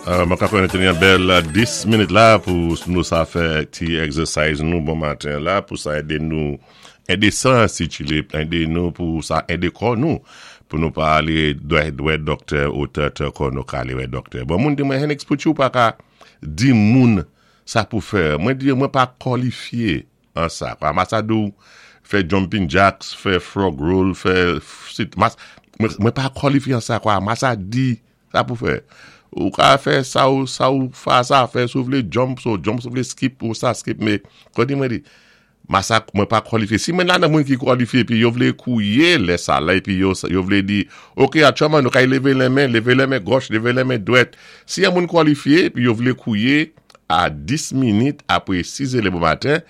Mwen ka konnen te gen bèl 10 minit la pou nou sa fè ti exercise nou bon maten la pou sa ede nou ede san sikile, ede nou pou sa ede kò nou pou nou pa ale wè doktè otan tan kò nou ka ale wè doktè. Bon moun di mwen Henix pouki ou pa ka di moun sa pou fè? Mwen di yo mwen pa kòlifye an sa. Kwa masa di w fè jumping jacks, fè frog roll, fè sit, mwen pa kòlifye an sa kwa masa di Sa pou fè. Ou ka fè sa ou sa ou fa sa fè si ou vle jump so jump si ou vle skip ou sa skip me kote mwen di masa mwen pa kwalifye si mwen la nan moun ki kwalifye epi yo vle kouye lè sa la epi yo yo vle di ok atchòman nou kay leve lè men leve lè men gòch leve lè men dwèt si yon moun kwalifye epi yo vle kouye a 10 minit apre 6 zè le bon maten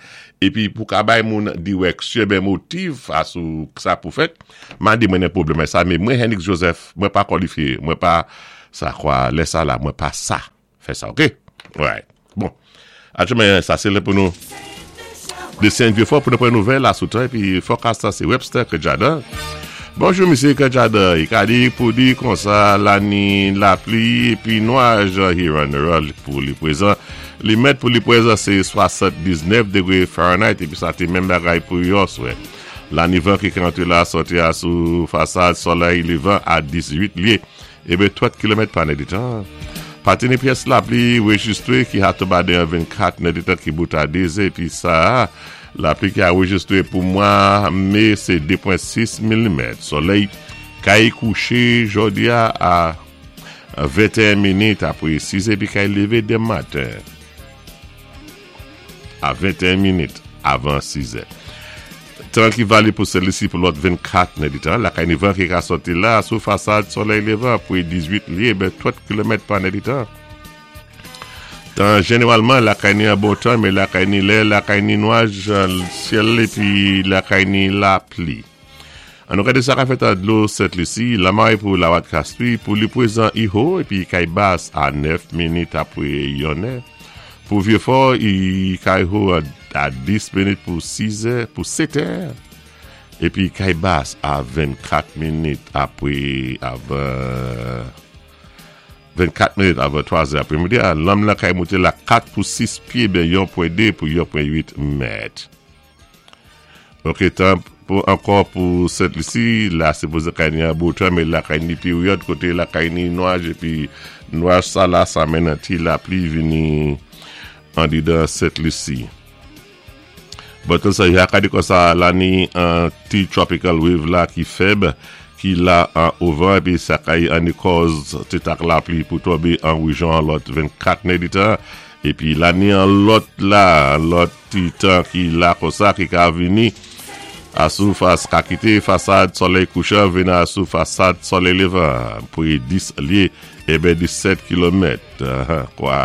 epi pou ka bay moun dirèksyon ben motiv a sou sa pou fèt mande mwen nen pwoblèm sa men mwen Henix Joseph mwen pa kwalifye mwen pa sa kwa lè sa la mwen pa sa fè sa ok alright bon atyèlman sa se lè pou nou Desenn vye fò pou nou pran nouvèl la sou tan epi fòkas la se Webster Kejada. Bonjou misye Kejada, i ka di pou di konsa la ni lapli epi nwaj Hiran pou li prezan. Li mèt pou li prezan se 79 degre Fahrenheit epi sa te menm bagay pou yòswè. La ni van ki ka antre la sòti a sou fasad solèy levan a 18 lye. Ebe 30 kilomèt pa nèdetan. Pati ni pyès lapli rejistre ki ha tonba deyan 24 nèdetan ki bout a 2 zè epi sa a lapli ki arejistre pou mwa me se 2.6 milimèt. Solèy kay kouche jodi a a 21 minit apre 6 zè epi kay leve demen maten. A 21 minit avan 6 zè. Tan ki valid pou Sent Lisi pou lòt 24 nèditan. Lakay ni van ki ka sòti la sou fasad solèy levan pou 18 lye ben 30 kilomèt pa nèditan. Tan jeneralman lakay ni an bon tan men lakay ni lè lakay ni nwaj syèl epi lakay ni lapli. An nou gade sa ka fèt an dlo Sent Lisi, lamare pou Lawat Kastri, pou li pwezan Iho epi kay bas a 9 minit apre yon è. Pou Vyefò i kay ho a 10 minit pou 6 è, pou 7 è, epi kay bas a 24 minit apre avan 24 minit avan 3 zè apre midi a. Lanm lan kay moute la 4 pou 6 pye ben yon pwen 2 pou yon pwen 8 mèt. Ok tan pou ankò pou Sent Lisi la sipoze kay ni an bo tan men lakay ni peryòd kote lakay ni nwaj epi nwaj sa la sa mennen ti lapli vini andedan Sent Lisi. Bon tan sa yo ka di konsa la ni an ti tropical wave la ki fèb ki la an ovan epi sa kay an ni kòz ti tak lapli pou tonbe an rejyon an lòt 24 nèditan epi la ni an lòt la lòt Ti tan ki la konsa ki ka vini a sou fas ka kite fasad solèy kouchan vin a sou fasad solèy levan pre 10 lye eben 17 kilomèt kwa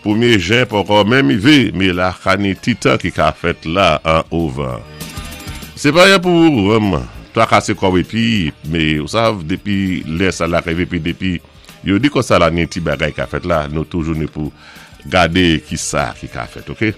premye jen poko menm rive me la ka ni ti tan ki ka fèt la an ovan se pa yon pou trakase kòw epi me ou sav depi lè sa la rive epi depi yo di konsa la ni ti bagay ka fèt la nou toujou ni pou Gade kisa ki ka fèt ok.